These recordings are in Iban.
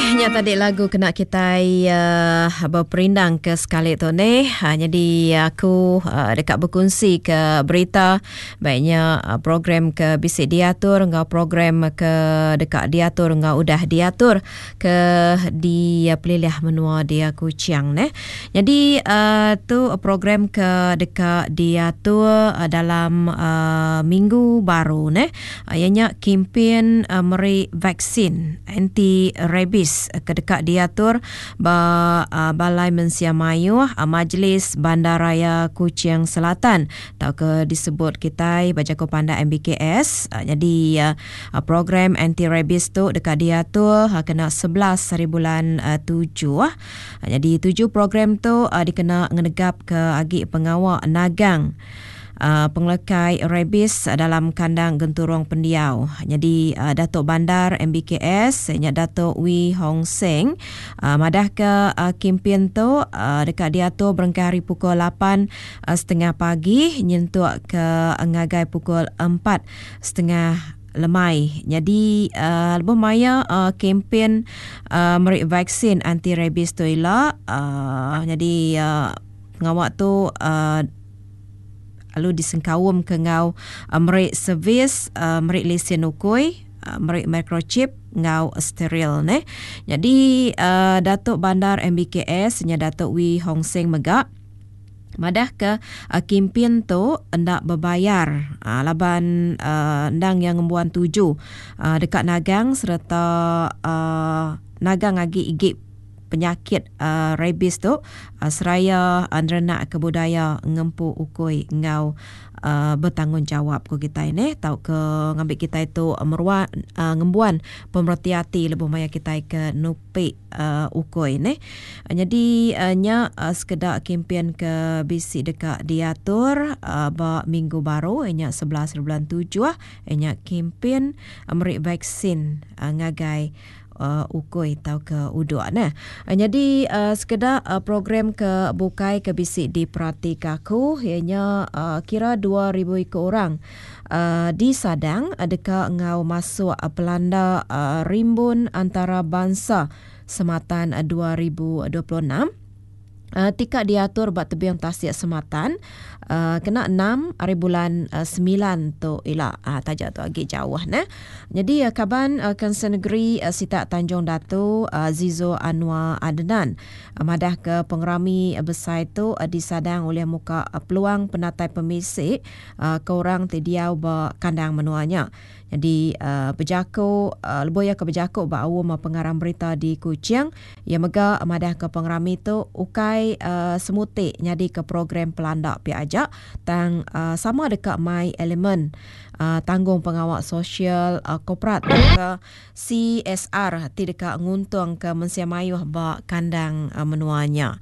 Okey, nya tadi lagu kena kitai uh, beperindang ke sekali tu ni. Ha, jadi aku uh, deka berkongsi ke berita baiknya uh, program ke bisi diatur enggau program ke deka diatur enggau udah diatur ke di pelilih menua dia Kuching neh. Jadi uh, tu program ke deka diatur uh, dalam uh, minggu baru neh. Iya nya kimpin meri vaksin anti rabies ke deka diatur ba Balai Mensia Mayuh Majlis Bandaraya Kuching Selatan tauka disebut kitai ba jaku pandak MBKS. Nyadi program anti rabies tu deka diatur kena 11 haribulan tujuh. Nyadi tuju program tu dikena ngenegapka agi pengawa nagang pengelekai rabies dalam kandang genturung pendiau. Nyadi Datuk Bandar MBKS nya Datuk Wee Hong Seng madahka kimpin tu deka diatur berengkah ari pukul lapan setengah pagi nyentuk ke ngagai pukul empat setengah lemai. Nyadi lebuh maya kempen meri vaksin anti rabies tu ila nyadi pengawa tu lalu disengkaum ke enggau meri servis meri lesen ukui, meri microchip enggau steril neh. Nyadi Datuk Bandar MBKS nya Datuk Wee Hong Seng mega madahka kimpin tu enda bebayar laban endang iya ngembuan tuju deka nagang sereta nagang agi igi penyakit rabies tu seraya nerenakka budaya ngempu ukui enggau betanggungjawab ku kitai neh tauka ngambi kitai tu meruan ngembuan pemereti ati lebuh maya kitai ke nupi ukui neh. Nyadi nya sekeda kempen ke bisi deka diatur ba minggu baru iya nya 11 bulan tujuh iya nya kempen meri vaksin ngagai ukui tauka uduk neh. Nyadi sekeda program ke bukai ke bisi diperatika aku iya nya kira 2000 iku orang disadang deka enggau masuk pelanda Rimbun Antarabansa Sematan 2026. Tika diatur ba tebing tasik Sematan kena enam ari bulan semilan tu ila taja tu agi jauh neh. Nyadi kaban Kaunsil Negeri sitak Tanjung Datu Zizo Anwar Adnan madah ke pengerami besai tu disadang ulih muka peluang penatai pemisi ke orang ti diau ba kandang menua nya. Nyadi bejaku lebuh iya ke bejaku ba aum pengarang berita di Kuching, iya mega madahka pengerami tu ukai semuti nyadika program pelanda pia aja tang sama deka mai elemen tanggungpengawa sosial korporat tauka CSR ti deka nguntungka mensia mayuh ba kandang menua nya.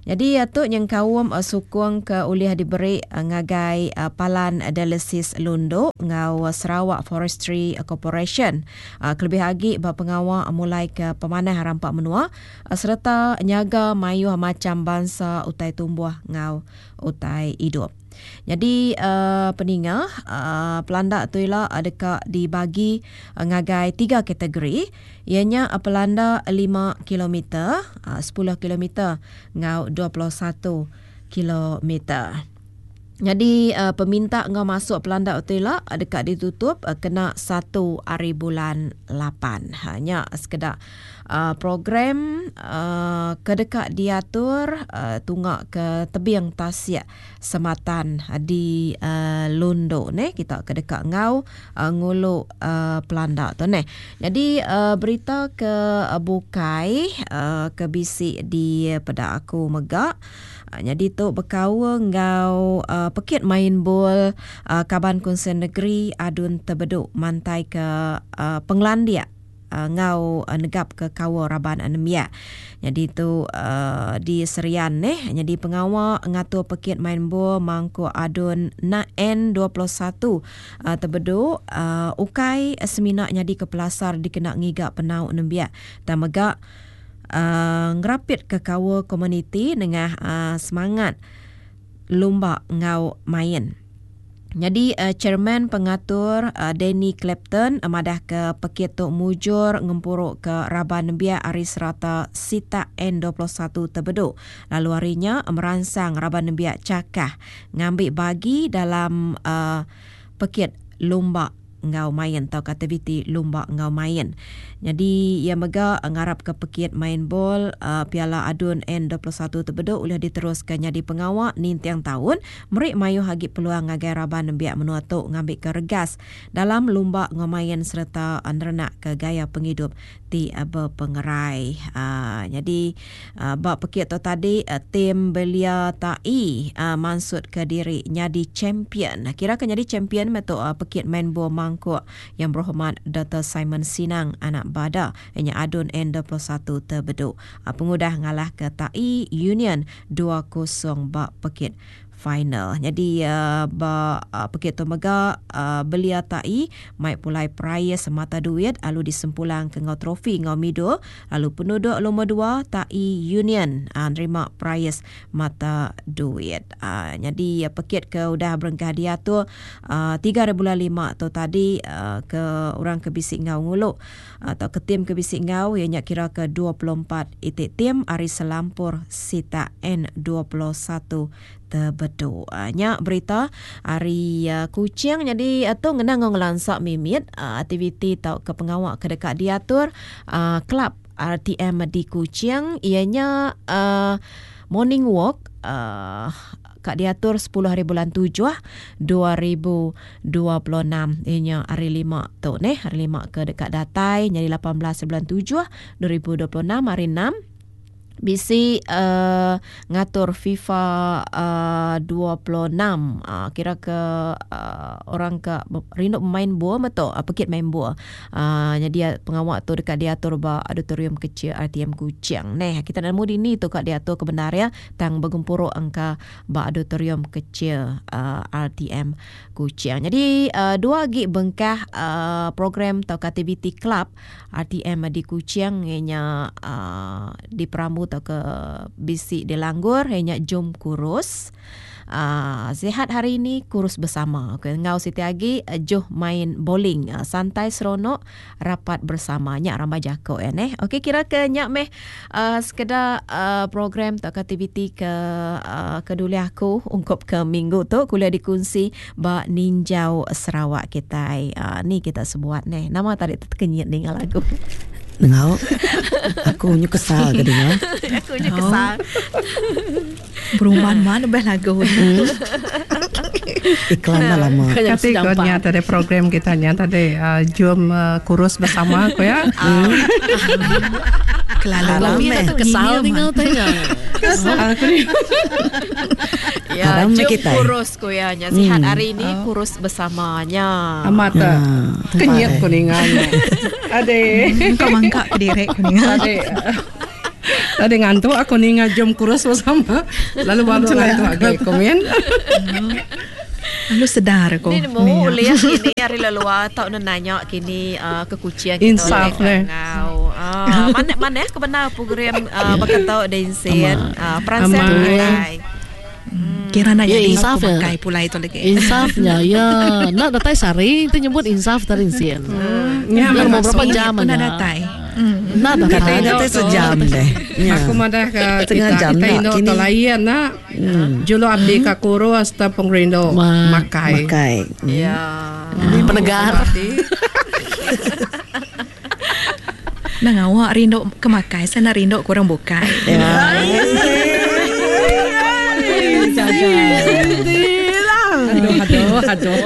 Nyadi tu nyengkaum sukung ke ulih diberi ngagai Palan Dialisis Lundu enggau Sarawak Forestry Corporation kelebih agi ba pengawa mulaika pemanah rampa menua sereta nyaga mayuh macham bansa utai tumbuh enggau utai idup. Nyadi peninga pelanda tu ila deka dibagi ngagai tiga kategori iya nya pelanda lima kilometer, sepuluh kilometer enggau 21 kilometer. Nyadi peminta enggau masuk pelanda tu ila deka ditutup kena satu ari bulan lapan. Nya sekeda program ke deka diatur tunga ke tebing tasik Sematan di Lundu neh kita ke deka enggau ngulu pelanda tu neh. Nyadi berita ke bukai ke bisi dipeda aku mega nyadi tu bekaul enggau pekit main bol kaban Kunsil Negeri Adun Tebedu mantaika pengelandik enggau negapka kaul raban nembiak. Nyadi tu di Serian neh nyadi pengawa ngatur pekit main bol mangkuk Adun N21 Tebedu ukai semina nyadika pelasar dikena ngiga penau nembiak tang mega ngerapitka kaul komuniti nengah semangat lumba enggau main. Nyadi chairman pengatur Danny Clapton madahka pekit tu mujur ngempuruka raban nembiak ari serata sitak N 21 Tebedu lalu ari nya meransang raban nembiak chakah ngambi bagi dalam pekit lumba enggau main tauka aktiviti lumba enggau main. Nyadi iya mega ngarapka pekit main bol Piala Adun N 21 Tebedu ulih diteruska nyadi pengawa ninting taun meri mayuh agi peluang ngagai raban nembiak menua tu ngambika regas dalam lumba enggau main sereta nerenakka gaya pengidup ti bepengerai. Nyadi ba pekit tu tadi tim Belia Tai mansutka diri nyadi champion. Kira ke nyadi champion meh tu pekit main bol mangkuk Yang Berhormat Doktor Simon Sinang anak Bada iya nya Adun N 21 Tebedu pengudah ngalahka Tai Union dua kosong ba pekit final. Nyadi ba pekit tu mega Belia Tai mai pulai perais mata duit lalu disempulang ke enggau trofi enggau midul lalu penuduk lumur dua Tai Union nerima perais mata duit. Nyadi pekit ke udah berengkah diatur tiga hari bulan lima tu tadi ke orang ke bisi enggau ngulu tauka tim ke bisi enggau iya nya kira ke 24 iti tim ari selampur sitak N 21 Tebedu. Nya berita ari Kuching nyadi tu ngena enggau ngelansa mimit aktiviti tauka pengawa ke deka diatur kelab RTM di Kuching iya nya morning walk ka diatur sepuluh hari bulan tujuh 2026 iya nya hari lima tu neh hari lima ke deka datai nyadi 18 bulan tujuh 2026 hari enam bisi uh, ngatur FIFA uh, 26 uh, kira ke uh, orang ke rindu main buah betul uh, pekit main buah uh, jadi pengawa tu dekat diatur ba auditorium kecil RTM Kuching neh kita nemu dini tu ka diatur ke benar ya tang begempuru engka ba auditorium kecil uh, RTM Kuching jadi uh, dua agi bengkah uh, program atau aktiviti club RTM di Kuching iya nya uhh diperambu tauka bisi dilanggur iya nya Jom Kurus uhh Sihat Hari Ini Kurus Bersama. Okey enggau siti agi Juh Main Bowling Santai Seronok Rapat Bersama. Nya rambai jaku iya neh. Okey kira ke nya meh uhh sekeda uhh program tauka aktiviti ke uhh ke dulih aku ungkup ke minggu tu ke ulih dikunsi Ba ninjau Sarawak kitai. Uh, ni kita sebuat neh. Nama tadi tekenyit ninga lagu. Nengau. Aku nyu kesal ke dinga. Aku nyu kesal. Berumban man lebih lagu. Hmm. Iklan dah lama. Kati ko nya tadi program kita nya tadi uh, jom uh, kurus bersama ko ya. Hmm. Kelalu lama. Kesal ninga tanya. Kesal ko ni. Ya, jom kurus Ku iya nya sihat hari ini kurus bersama nya. Amat ta. Kenyit ku ninga nya. Ade. Kau mangka kediri ku ninga. Ade. Tadi ngantuk aku ninga jom kurus bersama. Lalu baru ngantuk agi komen. Lalu sedar aku. Ni nemu ulih kini ari leluar tau ne nanya kini uh, ke Kuching kita Insaf ulih ngau. Uh, mana mana ke benar program uh, baka tau Densin uh, peransang kitai. Kira nak Ya, jadi insaf aku ya. makai pulai tu lagi. Insafnya ya nak datai sehari tu nyebut insaf tadi sin. Ya, Biar mau memang berapa jam Pernah aja. datai. Nak datai. Datai sejam deh. Ya. Aku madah ke Setengah kita jam kita nak indu kini. tu lain nak. Juluk abdi ka kurus te pengerindu makai. Makai. Ya. Penegar. Nang awak rindu ke makai, saya nak rindu ke orang bukai. Ya. Aduh, aduh, aduh.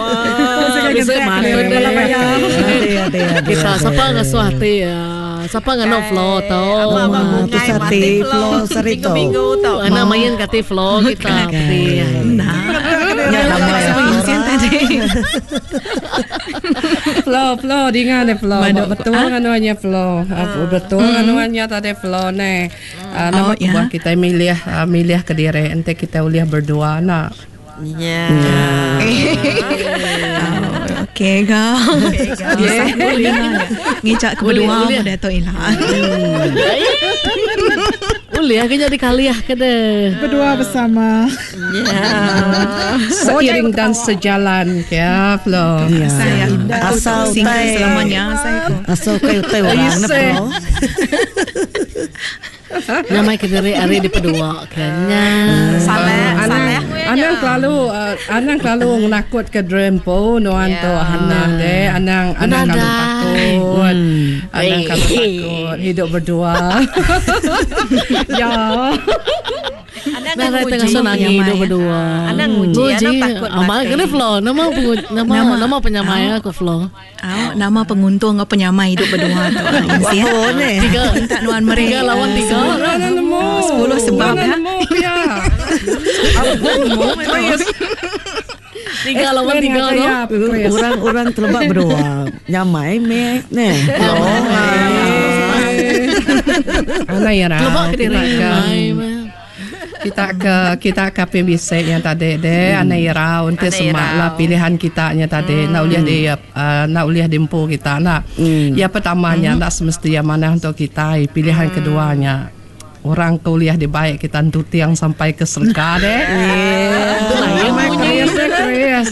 Bisa matun Kita siapa ngasuh hati ya. Siapa nganu flow tau. Apa-apa bungai tu mati sate flow. flow serito. Minggu-minggu tau. Anak main kati flow kita. Nah, Ya, lama ya. Sama Insin tadi. Flow, flow, dinga deh flow. Madu. Betul anuannya flow. Ah, Betul anuannya tadi flow ne. Ah, Nama Oh, ya. kebuah kita milih ah, milih ke diri ente kita ulih berdua nak. Ya. Oh, Okey kau. Boleh. Ngicak ke Boleh, berdua boleh. muda tu ilah. Ulih ke jadi kaliah ke deh. Berdua bersama. Ya. Seiring dan sejalan ya Flo. Ya. Saya aku Asal single utai selamanya saya ko. Asal utai utai orang ne Flo. Nyamai ke diri hari di pedua kan. Nya. Salah, Anang salah. anang kelalu anang kelalu ngenakut ke dream po nuan tu Hana deh anang anang kalau takut. Anang kalau takut hidup berdua. ya. Anang Nah, nguji. tengah senang hidup berdua. Anang nguji, anang takut Amal mati. kena Flo, nama nama nama penyamai aku Flo. Au, nama penguntung ngau penyamai hidup berdua tu. Wah, Oh ne. Tiga Minta nuan meri. Tiga lawan tiga. Mana nemu? 10 sebab Mana ya. nemu ya. Aku nemu Chris. Tiga lawan Explain tiga dengan tu. saya, Chris. Orang-orang terlebak berdua. Nyamai me ne. Flo. Anang ya Lebak ke diri. Kita ke kita ke PBC yang tadi deh anai irau nanti Anai semak irau. lah pilihan kita nya tadi nak uliah di nak uliah dimpu kita nak. Ya pertamanya nak semestinya mana untuk kita pilihan keduanya orang kuliah di baik kita tiang sampai ke surga deh. Itulah yang Amai bunyi. Chris deh Chris.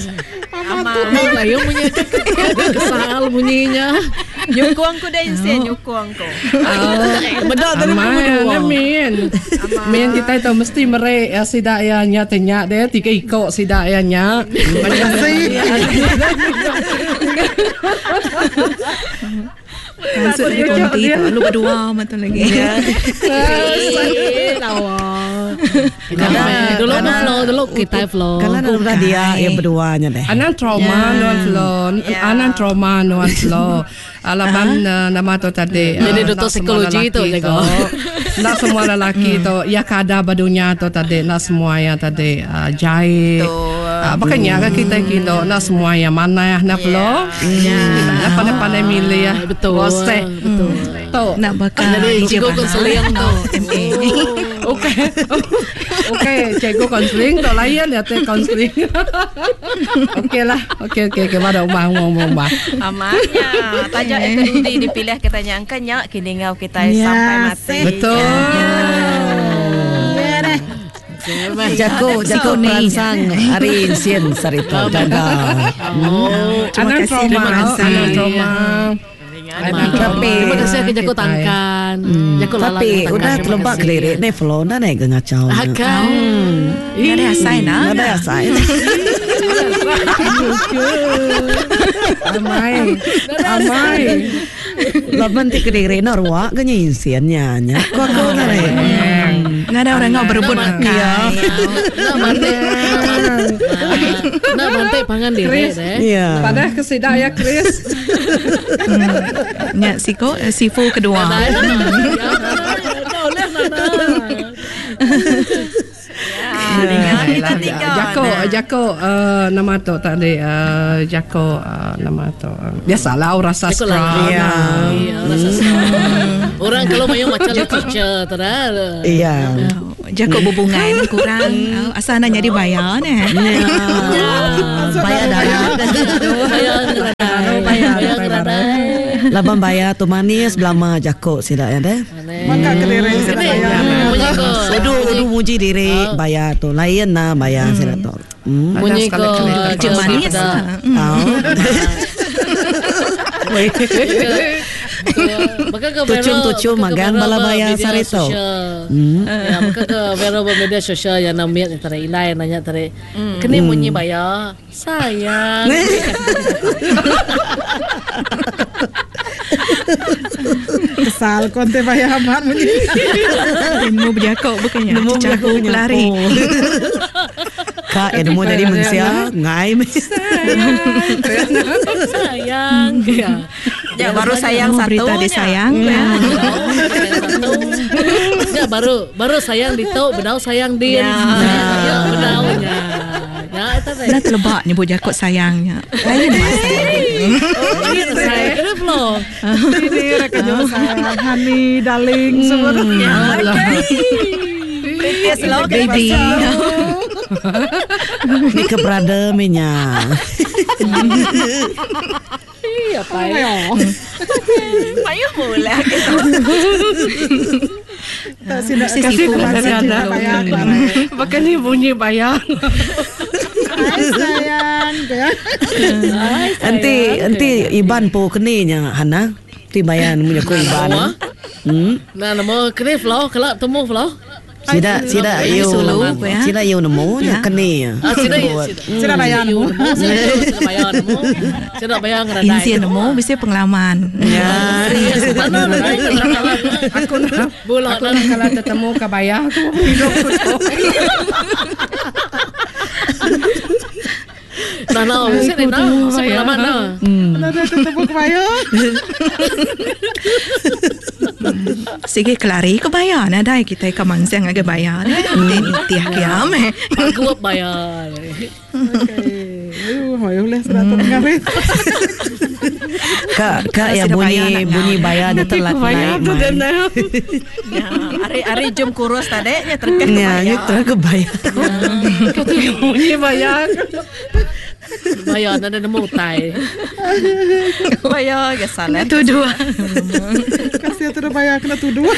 Itulah yang bunyi. Kesal bunyinya. Nyukung ku dah insen, nyukung ku. Bedak tadi Amai berdua. ane min. Min kita itu mesti merek ya sidak ya nya tenya deh tiga ikok sidak ya nya. Terima kasih. Maksud dia konti tu. Lu berdua betul lagi. Dulu apa Flo, dulu kita Flo. Kalau nak udah dia yang berduanya deh. Anang trauma nuan Flo. Anang trauma nuan Flo. Alaban nama tu tadi. Jadi ah, doktor nak semua psikologi tu, lelaki jago. Nak semua lelaki tu ya kada badunya tu tadi nak semua yang tadi jahit. Makanya kan kita kilo nak semua yang mana ya nak Flo. Kita nak pandai-pandai milih ya. Betul. Bosek. Betul. Tu. Nak bakal Jadi DJ cikgu Bahar. konseling tu. MA. Okey. Okey, cikgu konseling tak layan ya teh konseling. Okey lah. Okey okey okey pada rumah rumah rumah. Amannya. Tajak yang kedudi dipilih kita nyangka nyak kini ngau kita Ya, sampai mati. Betul. Jago jago peransang hari insien sarito jaga. Oh. Terima Anang kasih, trauma, terima kasih. anang trauma. Anang trauma. Tapi Terima kasih ke Jago Tangkan. Jago Lalang tapi Tangkan. udah Terima terlebak kasih. kelirik ne Flo na ne ke ngacau. Akan. Nggak ada asai nah. Nggak ada asai. Amai. Amai. Laban ti kelirik na ruak ke nya insien nya nya. Ko aku na ne. Nggak ada orang ngau berebut makan. Nak bantai. Nak bantai pangan diri Chris. deh. Iya. Pada kesidak ya Chris. Nyak siko sifu kedua. Ya, dengar kita tiga. Jako, Jako nama tu tadi Jako nama tu. Biasalah orang sastra. Iya. Iya, rasa Orang kalau mayu macam literature tu dah. Iya. Jakok berbunga ni kurang. Asal nak jadi bayar ni. Bayar dah. Bayar ngeradai. Bayar ngeradai. Laban bayar tu manis belama jakok sida ya deh. Maka kediri sida bayar. Bunyi ko. Udu udu muji diri bayar tu lain nah bayar sida tu. Bunyi ko. Cik manis lah. Tahu. Maka ke viral Tucum-tucum maka ke magang viral bala ba bayar media sarito. sosial. Ya, maka ke viral ba media sosial yang namanya tare inai nanya tare. Kini bunyi bayar sayang. Kesal konte bayar amat bunyi. Ilmu berjakok bukannya. Caku pelari. Kak ilmu jadi manusia ngai. Sayang. Ya. Ya, baru sayang Ilmu satu. Berita disayang. Ya. Satu. Ya baru baru sayang dito, bedau sayang din. Ya. Ya, bedau nya. Ya, itu teh. Dah terlebak nyebut jakok sayangnya. Lain masa. Saya kena flow. Ini reka jauh sayang, honey, darling, semua tu. Dia selalu Baby. Ni ke brother minya. Iya, apa ya? Payuh mula. Sida Mesti kasih sifu cinta bayar aku. Baka ni bunyi bayar. Hai sayang. Enti enti Iban po keni nya Hana. Ti bayar nemu jaku Iban. Nah, nama kena flow, kelak temu flow. Sida sida yu Sulu, ya. sida yu nemu nya keni. Ah, sida Sida bayar nemu. Sida bayar nemu. Sida bayar ngeradai. Insian nemu mesti pengalaman. Ya. Aku nak Bola aku nak kalau tetemu ke bayar aku hidup aku tu. Nah, nah, mesti ni nah, mesti pengalaman nah. Ada tetemu kebaya. Sige kelari ke bayar nadai kita ke mansang agak bayar. Tiah kiam eh. Aku bayar. Okey. Aduh, mayu leh sudah terdengar. Ka ka ya Sida bayar bunyi nak bunyi bayar dia telat Bayar naik. tu mai. dan Ya, hari-hari jom kurus tadi nya terkeh Ya, kebayar. itu ke bayar. Kau tu bunyi bayar. Bayar nak ada nemu tai. Bayar ke salah. Tu dua. Kasih tu dah bayar kena tuduh.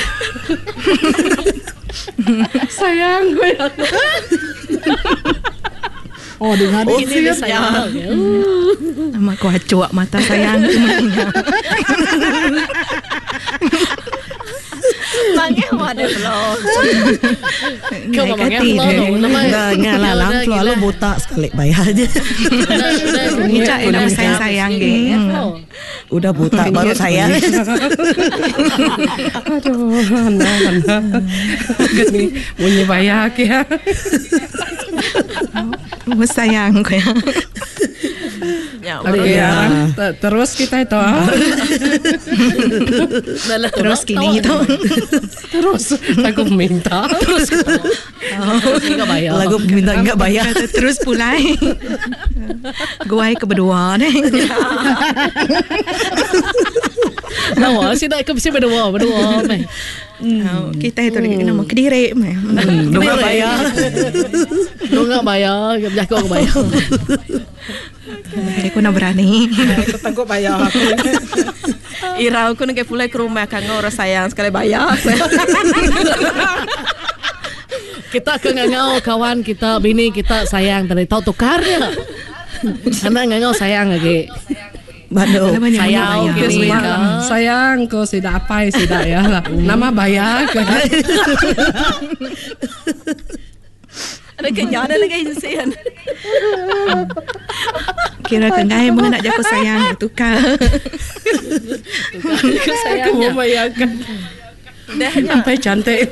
Sayang gue. Oh, dengar Ini dia dia. sayang. Nama aku acuak mata sayang. Mangeh ada belum. Kau memang flow tu. Nama Enggak, enggak lah, lam selalu botak sekali bayar aja. Ngicak eh nama sayang-sayang ge. Udah botak baru sayang. Aduh, Hana, Hana. Gini bunyi bayar ke. Oh, sayang ko ya. Ya, Okey, ya. Terus kita itu ah. Terus kini itu. Terus aku minta. Terus enggak bayar. Lagu minta enggak bayar. Terus pulai. Guai ke berdua ni. Nah, sih nak ke mesti berdua, berdua meh. Oh, Kita itu lagi nama kediri meh. Enggak bayar. Lu enggak bayar, jago aku bayar. Aku nak berani. Aku tanggup bayar aku. Irau aku nak pulai ke rumah kang orang sayang sekali bayar. Kita ke ngangau kawan kita, bini kita sayang tadi tahu tukarnya. Anak ngangau sayang lagi. Bado. Banyak Sayang bayar. gini kan. Sayang ko sida apai sida ya lah. Nama bayar ke. Ada kenyang ada lagi insian. Kira kengai mengenai jago sayang tukar. Aku mau bayarkan. Dah Sampai cantik.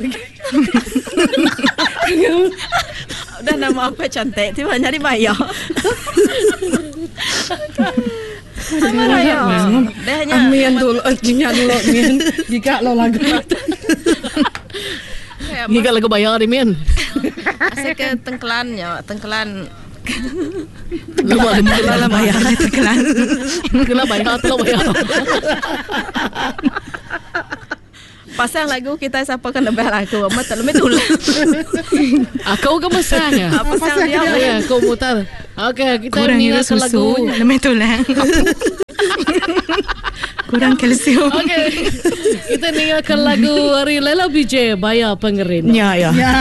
dah nama apa cantik tiba nyari bayar. Sama raya. Dah nya. Amin dulu, jinya dulu min. Giga lo lagu. Giga lagu bayar ni min. Asal ke tengkelannya, tengkelan Lu buat Lah bayar terkelan. Kena bayar, tolong bayar. pasang lagu kita siapa kan lebih lagu amat tak lebih tulang. Aku ke mesang ya. Apa pasang dia? Ya, aku mutar. Okey, kita Kurang ni ira lagu. susu, lebih tulang. Kurang kalsium. Okey. Kita dengarkan lagu dari Lela BJ Bayar Pengerindu. Ya ya. Ya.